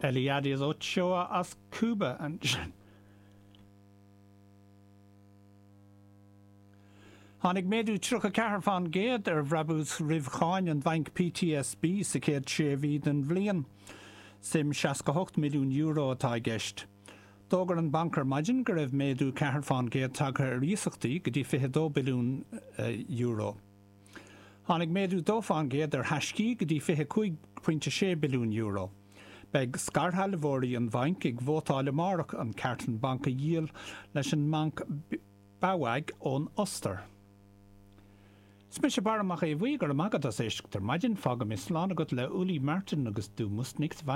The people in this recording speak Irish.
Eliades Ochoa as Cúba ansin. Tháinig méadú 34% ar bhrabús roimh cháin an bhainc PTSB sa chéad sé mhí den bhliain. Suim €68 milliún atá i gceist. D'fhógair an banc ar maidin go raibh méadú 4% tagtha ar iasachtaí go dtí €22 billiún. Tháinig méadú 2% ar thaiscí go dtí €25.6 billiún. Beidh scairshealbhóirí an bhainc ag vótáil amárach an ceart an banc a dhíol leis an mbanc BAWAG ón Ostair. Is mise Barra Mac Aodha Bhuí, go raibh maith agat as éisteacht ar maidin. Fágfaidh mé slán agat le Uli Martin agus Du musst nicht weinen.